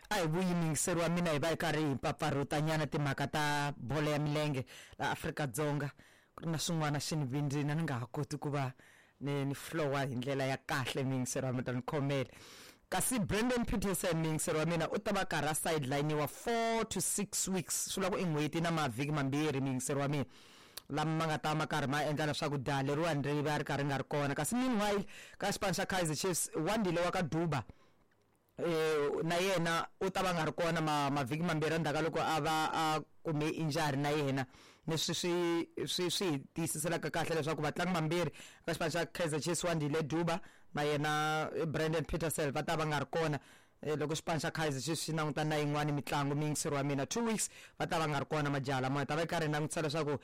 A hi vuyi muyingiseri wa mina hi va hi karhi hi mpfapfarhutanyana timhaka ta bolo ya milenge laha Afrika-Dzonga. Ku ri na swin'wana swi ni vindzini a ni nga ha koti ku va ni ni flowa hi ndlela ya kahle muyingiseri wa mina ta ni khomela. Kasi Brandon Petersen muyingiseri wa mina u ta va karhi a sideline-iwa 4 to 6 weeks swi vula ku i n'hweti na mavhiki mambirhi muyingiseri wa mina lama ma nga ta ma karhi ma endla leswaku jaha leriwani ri va ri karhi ri nga ri kona. Kasi meanwhile ka xipano xa Kaizer Chiefs Wandile wa ka Duba na yena u ta va nga ri kona ma mavhiki mambirhi endzhaku ka loko a va a kume injury na yena leswi swi swi swi hi tiyisiselaka kahle leswaku vatlangi vambirhi ka xipano xa Kaizer Chiefs Wandile Duba na yena Brandon Petersen va ta va nga ri kona loko xipano xa Kaizer Chiefs xi langutana na yin'wani mitlangu muyingiseri wa mina 2 weeks va ta va nga ri kona majaha lama hi ta va hi karhi hi langutisa leswaku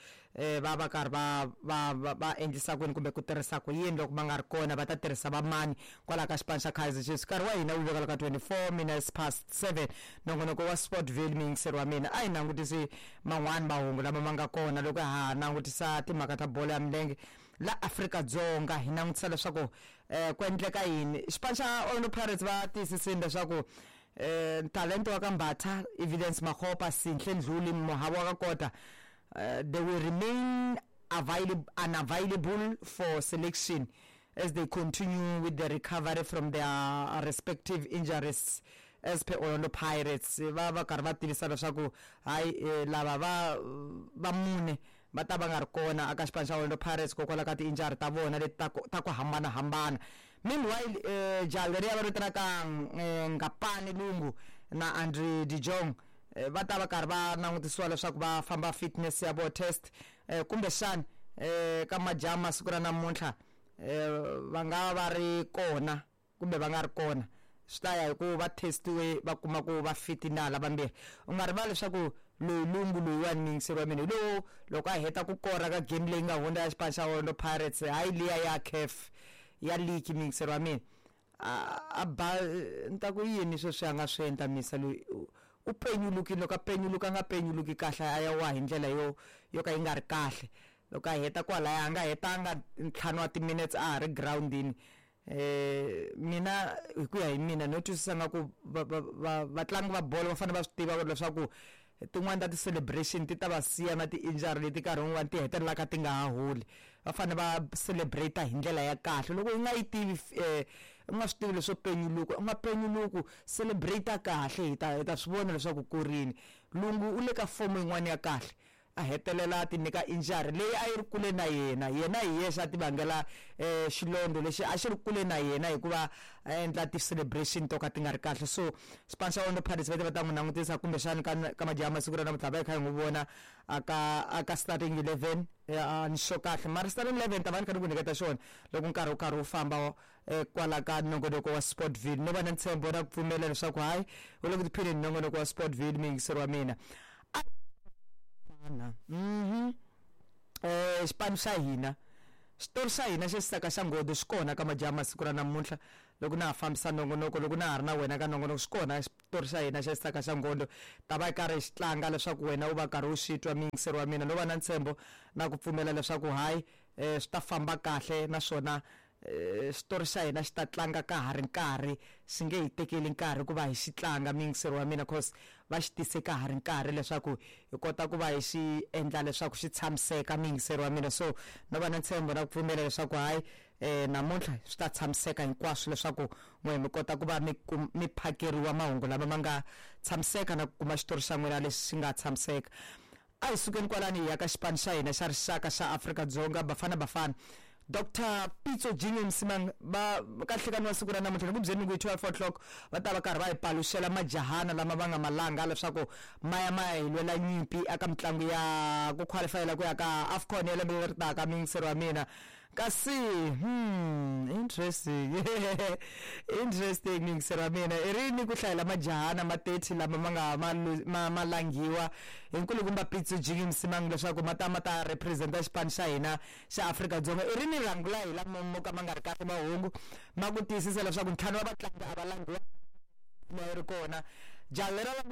va va karhi va va va va endlisa ku yini kumbe ku tirhisa ku yini loko va nga ri kona va ta tirhisa va mani kwalaho ka xipano xa Kaizer Chiefs nkarhi wa hina wu veka ka 24 minutes past 7 nongonoko wa Sportville muyingiseri wa mina a hi langutisi man'wani mahungu lama ma nga kona loko ha langutisa timhaka ta bolo ya milenge la Afrika-Dzonga hi langutisa leswaku ku endleka yini xipano xa Orlando Pirates va tiyisisile leswaku talento wa ka Mbatha Evidence Makgopa Sinhle Ndluli Mohabo wa ka Kota they will remain available unavailable for selection as they continue with the recovery from their respective injuries as per Orlando Pirates va va karhi va tivisa leswaku hayi lava va va mune va ta va nga ri kona aka xipano xa Orlando Pirates hikokwalaho ka ti-injury ta vona leti ta ku ta ku hambanahambana meanwhile jaha leriya va vitanaka Ngapane Lungu na Andre de Jong va ta va karhi va langutisiwa leswaku va famba fitness ya vo test kumbexana ka majaha masiku ra namuntlha va nga va ri kona kumbe va nga ri kona swi ta ya hi ku va testiwe va kuma ku va fit na lava vambirhi u nga rivali leswaku loyi Lungu loyiwani muyingiseri wa mina hi lowu loko a heta ku kora ka game leyi nga hundza ya xipano xa Orlando Pirates hayi liya ya CAF ya league muyingiseri wa mina a ba ni ta ku yini sweswi a nga swi endla misa loyi u penyulukile loko a penyuluka a nga penyuluki kahle a ya wa hi ndlela yo yo ka yi nga ri kahle loko a heta kwalaya a nga hetanga ntlhanu wa timinetse a ha ri girawundini mina hi ku ya hi mina no twisisa nga ku va va va vatlangi va bolo va fanele va swi tiva leswaku tin'wani ta ti-celebration ti ta va siya na ti-injury leti nkarhi wun'wani ti hetelelaka ti nga ha holi va fanele va celebrate hi ndlela ya kahle loko u nga yi tivi u nga swi tivi leswo penyuluka u nga penyuluki celebrate kahle hi ta hi ta swi vona leswaku ku rini Lungu u le ka fomo yin'wani ya kahle a hetelela a ti nyika injury leyi a yi ri kule na yena yena hi yexe a ti vangela xilondza lexi a xi ri kule na yena hikuva a endla ti-celebration to ka ti nga ri kahle so xipano xa Orlando Pirates va te va ta n'wi langutisa kumbexani ka ka majaha masiku ra namuntlha va hi kha hi n'wi vona a ka a ka starting 11 a ni sure kahle mara starting 11 ta va ni kha ni ku nyiketa xona loko nkarhi wu karhi wu famba kwala ka nongonoko wa Sportville no va na ntshembo na ku pfumela leswaku hayi u le ku tiphineni nongonoko wa Sportville muyingiseri wa mina xipano xa hina xitori xa hina xa xisaka xa nghodo xi kona ka majaha masiku ra namuntlha loko na ha fambisa nongonoko loko na ha ri na wena ka nongonoko xi kona xitori xa hina xa xisaka xa nghodo ta va karhi xi tlanga leswaku wena u va karhi u xi twa muyingiseri wa mina no va na ntshembo na ku pfumela leswaku hayi swi ta famba kahle naswona xitori xa hina xi ta tlanga ka ha ri nkarhi xi nge hi tekeli nkarhi ku va hi xi tlanga muyingiseri wa mina cause va xi tise ka ha ri nkarhi leswaku hi kota ku va hi xi endla leswaku xi tshamiseka muyingiseri wa mina so no va na ntshembo na ku pfumela leswaku hayi namuntlha swi ta tshamiseka hinkwaswo leswaku n'we mi kota ku va mi mi phakeriwa mahungu lama ma nga tshamiseka na ku kuma xitori xa n'wina lexi xi nga tshamiseka a hi sukeni kwalani hi ya ka xipano xa hina xa rixaka xa Afrika-Dzonga Bafana Bafana Dr Pitso Jinge Msimang va ka nhlekani wa siku ra namuntlha ni ku byeni ku hi 12 o'clock va ta va karhi va hi paluxela majahana lama va nga malanga leswaku ma ya ma ya hi lwela nyimpi eka mitlangu ya ku qualifyela ku ya ka AFCON ya lembe leri taka muyingiseri wa mina kasi interesting interesting muyingiseri wa mina i rini ku hlayela majahana ma 30 lama ma nga ma ma ma langhiwa hi nkulukumba Pitso Jinge Msimang leswaku ma ta ma ta representa xipano xa hina xa Afrika-Dzonga i rini rhangu la hi lama mo ka ma nga ri kahle mahungu ma ku tiyisisa leswaku ntlhanu wa vatlangi a va langhiwa yi ri kona jaha lera la